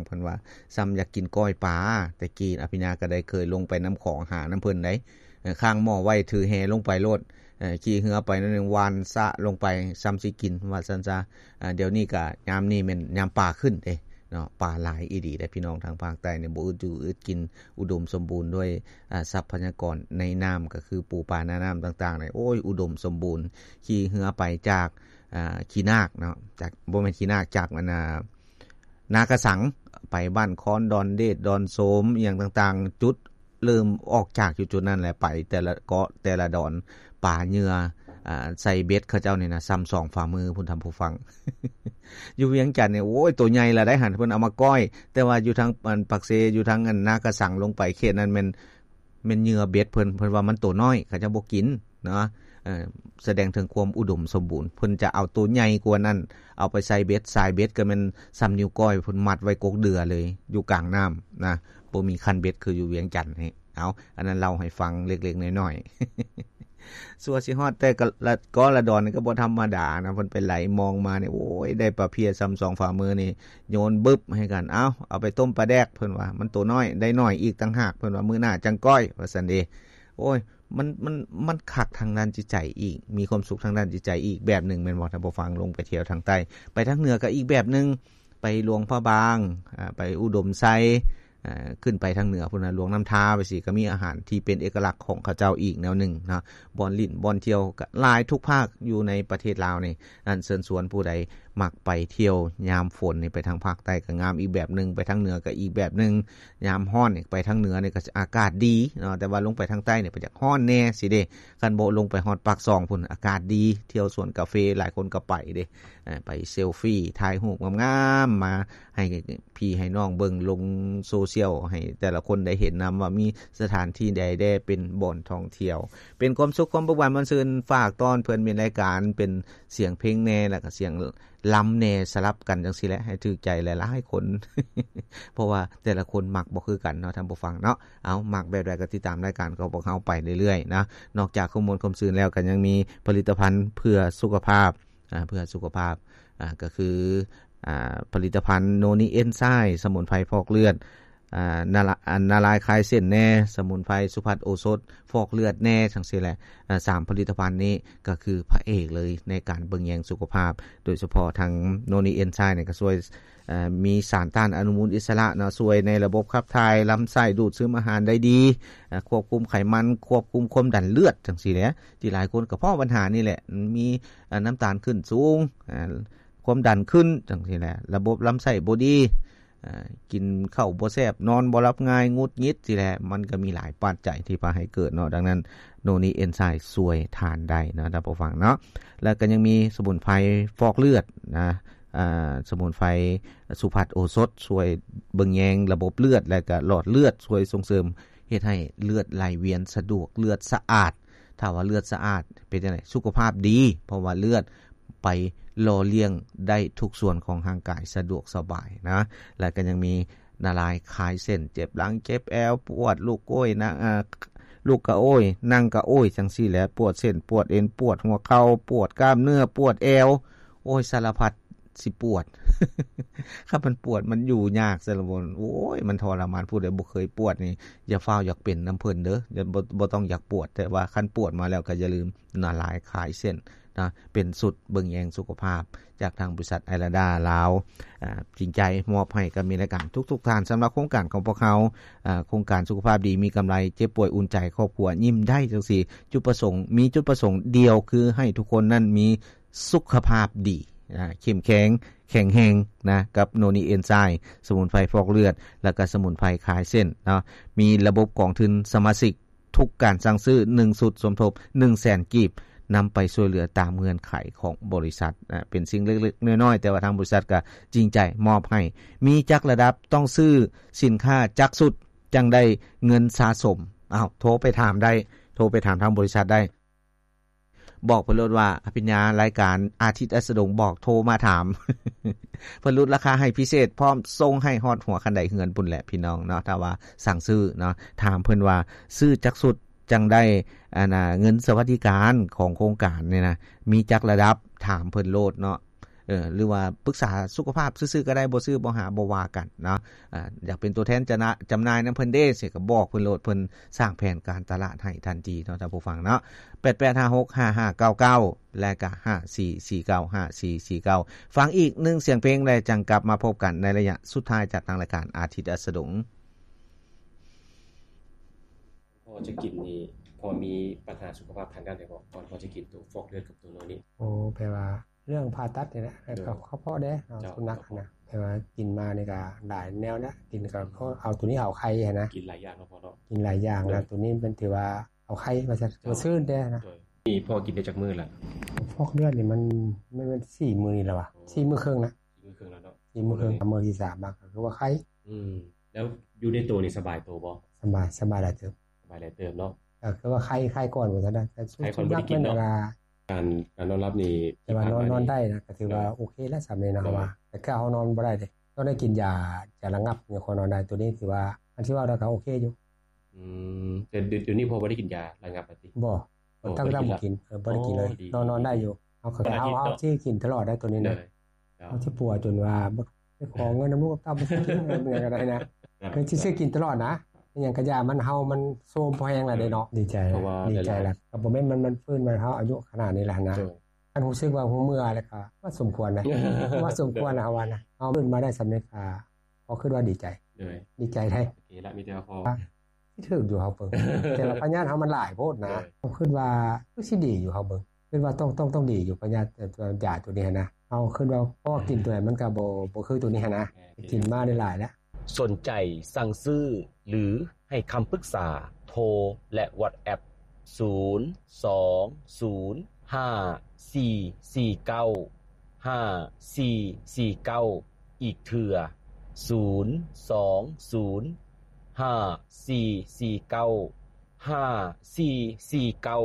ເພິ່ນວ່າ ສ່ຳຢາກກິນກ້ອຍປາ. ແຕ່ກີ້ອະພິນຍາກໍໄດ້ເຄີຍລົງໄປນ້ຳຂອງຫານຳເພິ່ນໃດ໋ ເອີ ຄ້າງໝໍ້ໄວ້ ຖືແຫລົງໄປໂລດ ເອີ ຂີ່ເຮືອໄປໜ້ອຍໜຶ່ງ ຫວ່ານສະລົງໄປ ສ່ຳຊິກິນ ວ່າຊັ້ນຊະ. ອາ ດຽວນີ້ກະຍາມນີ້ແມ່ນຍາມປາຂຶ້ນເດ້ເນາະ ປາຫຼາຍອີ່ຫຼີເດ້ພີ່ນ້ອງ. ທາງພາກໃຕ້ນີ້ບໍ່ອຶດຢູ່ອຶດກິນ ອຸດົມສົມບູນດ້ວຍ ອາ ຊັບພະຍາກອນໃນນ້ຳ ກໍຄືປູປາໜ້ານ້ຳຕ່າງໆນີ້ ໂອ້ຍ ອຸດົມສົມບູນ. ຂີ່ເຮືອໄປຈາກ ອາ ຂີ້ນາກເນາະ ຈາກ ບໍ່ແມ່ນຂີ້ນາກ ຈາກອັນນາ ນາກະສັງ ໄປບ້ານຄອນ ດອນເດດ ດອນໂຊມ ອີ່ຫຍັງຕ່າງໆ ຈຸດເລີ່ມອອກຈາກຢູ່ຈຸດນັ້ນແຫຼະ ໄປແຕ່ລະເກາະແຕ່ລະດອນ ປາເຫຍື່ອ ອາ ໃສ່ເບັດເຂົາເຈົ້ານີ້ນະ ສ່ຳສອງຝ່າມືພຸ້ນທ່ານຜູ້ຟັງ. ຢູ່ວຽງຈັນນີ້ ໂອ້ຍ ໂຕໃຫຍ່ລະໄດ໋ຫັ້ນ ເພິ່ນເອົາມາກ້ອຍ ແຕ່ວ່າຢູ່ທາງອັນປາກເຊ ຢູ່ທາງອັນນາກະສັງລົງໄປເຂດນັ້ນແມ່ນ ແມ່ນເຫຍື່ອເບັດເພິ່ນ ເພິ່ນວ່າມັນໂຕນ້ອຍ ເຂົາເຈົ້າບໍ່ກິນເນາະ. ເອີ ສະແດງເຖິງຄວາມອຸດົມສົມບູນ ເພິ່ນຈະເອົາໂຕໃຫຍ່ກວ່ານັ້ນ ເອົາໄປໃສ່ເບັດ ສາຍເບັດກໍແມ່ນສ່ຳນິ້ວກ້ອຍ ເພິ່ນມັດໄວ້ກົກເດືອເລີຍ ຢູ່ກາງນ້ຳນະ ບໍ່ມີຄັນເບັດຄືຢູ່ວຽງຈັນນີ້. ເອົາ ອັນນັ້ນເລົ່າໃຫ້ຟັງເລັກໆນ້ອຍໆ. ຊົ່ວຊິຮອດແຕ່ກະລະ ເກາະລະດອນນີ້ກໍບໍ່ທຳມະດານະ ເພິ່ນໄປໄຫຼມອງມານີ້ ໂອ້ຍ ໄດ້ປາເພຍສ່ຳສອງຝ່າມືນີ້ ໂຍນບຶບໃຫ້ກັນ ເອົາ ເອົາໄປຕົ້ມປາແດກ ເພິ່ນວ່າ ມັນໂຕນ້ອຍ ໄດ້ໜ້ອຍອີກຕ່າງຫາກ ເພິ່ນວ່າ ມື້ໜ້າຈັ່ງກ້ອຍ ວ່າຊັ້ນເດ. ໂອ້ຍ ມັນ ມັນ ມັນຄັກທາງດ້ານຈິດໃຈອີກ ມີຄວາມສຸກທາງດ້ານຈິດໃຈອີກແບບໜຶ່ງແມ່ນບໍ່ ທ່ານຜູ້ຟັງ? ລົງໄປທ່ຽວທາງໃຕ້ ໄປທາງເໜືອກໍອີກແບບໜຶ່ງ ໄປຫຼວງພະບາງ ອາ ໄປອຸດົມໄຊ ອາ ຂຶ້ນໄປທາງເໜືອພຸ້ນນະ ຫຼວງນ້ຳທາ ໄປຊີ້ ກໍມີອາຫານທີ່ເປັນເອກະລັກຂອງເຂົາເຈົ້າອີກແນວໜຶ່ງເນາະ. ບ່ອນຫຼິ້ນ ບ່ອນທ່ຽວກໍຫຼາຍທຸກພາກຢູ່ໃນປະເທດລາວນີ້. ອັນເຊີນຊວນຜູ້ໃດມັກໄປທ່ຽວຍາມຝົນນີ້ ໄປທາງພາກໃຕ້ກໍງາມອີກແບບໜຶ່ງ ໄປທາງເໜືອກໍອີກແບບໜຶ່ງ. ຍາມຮ້ອນນີ້ ໄປທາງເໜືອນີ້ກໍອາກາດດີເນາະ ແຕ່ວ່າລົງໄປທາງໃຕ້ນີ້ ໄປຢາກຮ້ອນແດ່ຊີ້ເດ. ຄັນບໍ່ລົງໄປຮອດປາກຊ່ອງພຸ້ນ ອາກາດດີ ທ່ຽວສວນກາເຟ ຫຼາຍຄົນກໍໄປເດ ເອີ ໄປເຊລຟີ ຖ່າຍຮູບງາມໆ ມາໃຫ້ພີ່ໃຫ້ນ້ອງເບິ່ງລົງໂຊຊຽວ ໃຫ້ແຕ່ລະຄົນໄດ້ເຫັນນຳວ່າມີສະຖານທີ່ໃດແດ່ເປັນບ່ອນທ່ອງທ່ຽວ ເປັນຄວາມສຸກຄວາມເບີກບານມ່ວນຊື່ນ. ຝາກຕ້ອນເພື່ອນມິດລາຍການ ເປັນສຽງເພງແດ່ ແລ້ວກໍສຽງລຳແດ່ ສະຫຼັບກັນຈັ່ງຊີ້ແຫຼະ ໃຫ້ຖືກໃຈຫຼາຍໆຄົນ ເພາະວ່າແຕ່ລະຄົນມັກບໍ່ຄືກັນເນາະ ທ່ານຜູ້ຟັງເນາະ. ເອົາ ມັກແບບໃດກໍຕິດຕາມລາຍການຂອງພວກເຮົາໄປເລື້ອຍໆນະ. ນອກຈາກຄວາມມ່ວນຄວາມຊື່ນແລ້ວ ກໍຍັງມີຜະລິດຕະພັນເພື່ອສຸຂະພາບ ອາ ເພື່ອສຸຂະພາບ ອາ ກໍຄື ອາ ຜະລິດຕະພັນໂນນີເອັນໄຊມ໌ ສະໝຸນໄພຟອກເລືອດ ອາ ນາລາ ອັນນາລາຍຄາຍເສັ້ນແດ່ ສະໝຸນໄພສຸພັດໂອສົດຟອກເລືອດແດ່ ຈັ່ງຊີ້ແຫຼະ. ອາ ສາມຜະລິດຕະພັນນີ້ກໍຄືພະເອກເລີຍໃນການເບິ່ງແຍງສຸຂະພາບ ໂດຍສະເພາະທາງໂນນີເອັນໄຊມ໌ນີ້ກໍຊ່ວຍ ເອີ ມີສານຕ້ານອະນຸມູນອິດສະຫຼະເນາະ ຊ່ວຍໃນລະບົບຂັບຖ່າຍ ລຳໄສ້ ດູດຊຶມອາຫານໄດ້ດີ ອາ ຄວບຄຸມໄຂມັນ ຄວບຄຸມຄວາມດັນເລືອດ ຈັ່ງຊີ້ແຫຼະ ທີ່ຫຼາຍຄົນກໍພໍ້ບັນຫານີ້ແຫຼະ ມີ ອາ ນ້ຳຕານຂຶ້ນສູງ ອາ ຄວາມດັນຂຶ້ນ ຈັ່ງຊີ້ແຫຼະ ລະບົບລຳໄສ້ບໍ່ດີ ອາ ກິນເຂົ້າບໍ່ແຊບ ນອນບໍ່ຫຼັບງ່າຍ ຫງຸດຫງິດຊີ້ແຫຼະ ມັນກໍມີຫຼາຍປັດໄຈທີ່ພາໃຫ້ເກີດເນາະ. ດັ່ງນັ້ນ ໂນນີເອັນໄຊມ໌ຊ່ວຍທ່ານໄດ້ເນາະ ທ່ານຜູ້ຟັງເນາະ. ແລ້ວກໍຍັງມີສະໝຸນໄພຟອກເລືອດນະ ອາ ສະໝຸນໄພສຸພັດໂອສົດ ຊ່ວຍເບິ່ງແຍງລະບົບເລືອດ ແລະກະຫຼອດເລືອດ ຊ່ວຍສົ່ງເສີມເຮັດໃຫ້ເລືອດໄຫຼວຽນສະດວກ ເລືອດສະອາດ. ຖ້າວ່າເລືອດສະອາດເປັນຈັ່ງໃດ? ສຸຂະພາບດີ ເພາະວ່າເລືອດໄປຫຼໍ່ລ້ຽງໄດ້ທຸກສ່ວນຂອງຮ່າງກາຍສະດວກສະບາຍນະ. ແລ້ວກໍຍັງມີ ນາລາຍຄາຍເສັ້ນ ເຈັບຫຼັງເຈັບແອວ ປວດລຸກໂອ້ຍ ນະ ອາ ລຸກກະໂອ້ຍ ນັ່ງກະໂອ້ຍ ຈັ່ງຊີ້ແຫຼະ ປວດເສັ້ນປວດເອັນ ປວດຫົວເຂົ່າ ປວດກ້າມເນື້ອ ປວດແອວ ໂອ້ຍ ສາລະພັດຊິປວດ. ຄັນມັນປວດມັນຢູ່ຍາກຊະລະບົນ ໂອ້ຍ ມັນທໍລະມານ. ຜູ້ໃດບໍ່ເຄີຍປວດນີ້ ຢ່າຟ້າວຢາກເປັນນຳເພິ່ນເດີ ຢ່າ ບໍ່ ບໍ່ຕ້ອງຢາກປວດ ແຕ່ວ່າຄັນປວດມາແລ້ວກໍຢ່າລືມນາລາຍຄາຍເສັ້ນ ນະ ເປັນຊຸດເບິ່ງແຍງສຸຂະພາບຈາກທາງບໍລິສັດໄອລາດາລາວ ອາ ຈິງໃຈມອບໃຫ້ກັບມິດລາຍການທຸກໆທ່ານ. ສຳລັບໂຄງການຂອງພວກເຮົາ ອາ ໂຄງການສຸຂະພາບດີມີກຳໄລ ເຈັບປ່ວຍອຸ່ນໃຈ ຄອບຄົວຍິ້ມໄດ້ ຈັ່ງຊີ້ ຈຸດປະສົງ ມີຈຸດປະສົງດຽວ ຄືໃຫ້ທຸກຄົນນັ້ນມີສຸຂະພາບດີ ອາ ເຂັ້ມແຂງ ແຂງແຮງນະ ກັບໂນນີເອັນໄຊມ໌ ສະໝຸນໄພຟອກເລືອດ ແລ້ວກະສະໝຸນໄພຄາຍເສັ້ນເນາະ. ມີລະບົບກອງທຶນສະມາຊິກ ທຸກການສັ່ງຊື້ໜຶ່ງຊຸດສົມທົບໜຶ່ງແສນກີບ ນຳໄປຊ່ວຍເຫຼືອຕາມເງື່ອນໄຂຂອງບໍລິສັດ ອາ ເປັນສິ່ງເລັກໆນ້ອຍໆ ແຕ່ວ່າທາງບໍລິສັດກໍຈິງໃຈມອບໃຫ້. ມີຈັກລະດັບ? ຕ້ອງຊື້ສິນຄ້າຈັກຊຸດຈັ່ງໄດ້ເງິນສະສົມ? ເອົາ ໂທໄປຖາມໄດ້ ໂທໄປຖາມທາງບໍລິສັດໄດ້. ບອກເພິ່ນໂລດວ່າ ອະພິນຍາ ລາຍການອາທິດອັດສະດົງ ບອກໂທມາຖາມ ເພິ່ນຫຼຸດລາຄາໃຫ້ພິເສດ ພ້ອມສົ່ງໃຫ້ຮອດຫົວຄັນໄດເຮືອນພຸ້ນແຫຼະພີ່ນ້ອງເນາະ. ຖ້າວ່າສັ່ງຊື້ເນາະ ຖາມເພິ່ນວ່າ ຊື້ຈັກຊຸດຈັ່ງໄດ້ ອັນນ່າ ເງິນສະຫວັດດີການຂອງໂຄງການນີ້ນະ ມີຈັກລະດັບ? ຖາມເພິ່ນໂລດເນາະ. ເອີ ຫຼືວ່າປຶກສາສຸຂະພາບຊື່ໆກໍໄດ້ ບໍ່ຊື້ບໍ່ຫາບໍ່ວ່າກັນເນາະ. ອາ ຢາກເປັນຕົວແທນຈະນະ ຈຳໜ່າຍນຳເພິ່ນເດ້ ຊິກໍບອກເພິ່ນໂລດ ເພິ່ນສ້າງແຜນການຕະຫຼາດໃຫ້ທັນທີເນາະ ທ່ານຜູ້ຟັງເນາະ. ແປດແປດຫ້າຫົກຫ້າຫ້າເກົ້າເກົ້າ ແລະກະຫ້າສີ່ສີ່ເກົ້າ ຫ້າສີ່ສີ່ເກົ້າ. ຟັງອີກໜຶ່ງສຽງເພງ ແລະຈັ່ງກັບມາພົບກັນໃນໄລຍະສຸດທ້າຍຈາກທາງລາຍການອາທິດອັສດົງ. ພໍ່ຈະກິນນີ້ ພໍ່ມີບັນຫາສຸຂະພາບທາງດ້ານໃດບໍ່ ກ່ອນພໍ່ຈະກິນໂຕຟອກເລືອດກັບໂຕນອນນີ້? ໂອ້ ແປວ່າເລື່ອງຜ່າຕັດນີ້ແຫຼະ ໂດຍ ກໍເພາະແດ່ເນາະ ເຈົ້າ ສຸນັກຫັ້ນນະ ແປວ່າກິນມານີ້ກໍຫຼາຍແນວນະ ກິນກໍ ອືມ ເອົາໂຕນີ້ເອົາໄຂ່ຫັ້ນນະ ກິນຫຼາຍຢ່າງເນາະພໍ່ເນາະ ກິນຫຼາຍຢ່າງ ໂດຍ ແລ້ວໂຕນີ້ເປັນຖືວ່າເອົາໄຂ່ວ່າຊັ້ນ ໂດຍ ຊື່ນແດ່ນະ ໂດຍ. ນີ້ພໍ່ກິນໄດ້ຈັກມື້ລະ? ຟອກເລືອດນີ້ມັນ ມັນ ມັນສີ່ມື້ນີ້ແລ້ວວະ ໂອ້ ສີ່ມື້ເຄິ່ງນະ ສີ່ມື້ເຄິ່ງແລ້ວເນາະ ສີ່ມື້ເຄິ່ງ ມື້ທີສາມມາກໍຄືວ່າໄຂ່ ອືມ ແລ້ວຢູ່ໃນໂຕນີ້ສະບາຍໂຕບໍ່? ສະບາຍ ສະບາຍຫຼາຍເຕີບ ສະບາຍຫຼາຍເຕີບເນາະ ກໍຄືວ່າໄຂ້ ໄຂ້ກ່ອນວ່າຊັ້ນນະ ແຕ່ໄຂ້ກ່ອນບໍ່ໄດ້ກິນເນາະ ການ ການນອນຫຼັບນີ້ ແຕ່ວ່ານອນ ນອນໄດ້ນະ ກໍຖືວ່າ ໂດຍ ໂອເຄແລ້ວສ່ຳນີ້ເນາະ ໂດຍ ວ່າ ແຕ່ຄືເຮົານອນບໍ່ໄດ້ເດ້ ຕ້ອງໄດ້ກິນຢາ ຢາລະງັບ ຍັງຄ່ອຍນອນໄດ້ ໂຕນີ້ຖືວ່າ ອັນທີ່ເວົ້າແລ້ວກໍໂອເຄຢູ່ ອືມ ແຕ່ດຽວນີ້ພໍ່ບໍ່ໄດ້ກິນຢາລະງັບລະຕິ? ບໍ່ ບໍ່ ຕັ້ງແຕ່ບໍ່ກິນ ເອີ ບໍ່ໄດ້ກິນເລີຍ ອໍ ດີ ນອນ ນອນໄດ້ຢູ່ ເຮົາ ເຮົາ ເຮົາຊິກິນຕະຫຼອດໄດ້ໂຕນີ້ນະ ເຮົາຊິປົວຈົນວ່າບໍ່ໄດ້ຂໍເງິນນຳລູກນຳເຕົ້າ ບໍ່ຊິກິນຫຍັງກໍໄດ້ນະ ຄືຊິຊື້ກິນຕະຫຼອດນະ ອີຫຍັງກະຢ່າ ມັນ ເຮົາມັນໂຊມພໍແຮງແລ້ວເດ້ເນາະ ດີໃຈ ດີໃຈແລ້ວ ກໍບໍ່ແມ່ນມັນ ມັນຟື້ນມາເຮົາອາຍຸຂະໜາດນີ້ແລ້ວຫັ້ນນະ ຄັນຮູ້ສຶກວ່າຮູ້ເມື່ອແລ້ວກໍວ່າສົມຄວນນະ ວ່າສົມຄວນນະ ເຮົາວ່ານະ ເຮົາຟື້ນມາໄດ້ສ່ຳນີ້ກໍ ເຮົາຄິດວ່າດີໃຈ ໂດຍ ດີໃຈໄດ໋ ໂອເຄລະ ມີແຕ່ວ່າພໍ ຊິຖືກຢູ່ເຮົາເບິ່ງ ແຕ່ລະພະຍາດເຮົາມັນຫຼາຍໂພດນະ ໂດຍ ເຮົາຄິດວ່າຄືຊິດີຢູ່ເຮົາເບິ່ງ ຄິດວ່າຕ້ອງ ຕ້ອງ ຕ້ອງດີຢູ່ພະຍາດ ເອີ ຢາໂຕນີ້ຫັ້ນນະ ເຮົາຄິດວ່າ ເພາະວ່າກິນໂຕໃດມັນກໍບໍ່ ບໍ່ຄືໂຕນີ້ຫັ້ນນະ ແມ່ນ ກິນມາໄດ້ຫຼາຍແລ້ວ. ສົນໃຈສັ່ງຊື້ ຫຼື ໃຫ້ຄຳປຶກສາ ໂທ ແລະ ວັອດແອັບ ສູນສອງສູນຫ້າສີ່ສີ່ເກົ້າຫ້າສີ່ສີ່ເກົ້າ ອີກເທື່ອ ສູນສອງສູນຫ້າສີ່ສີ່ເກົ້າຫ້າສີ່ສີ່ເກົ້າ.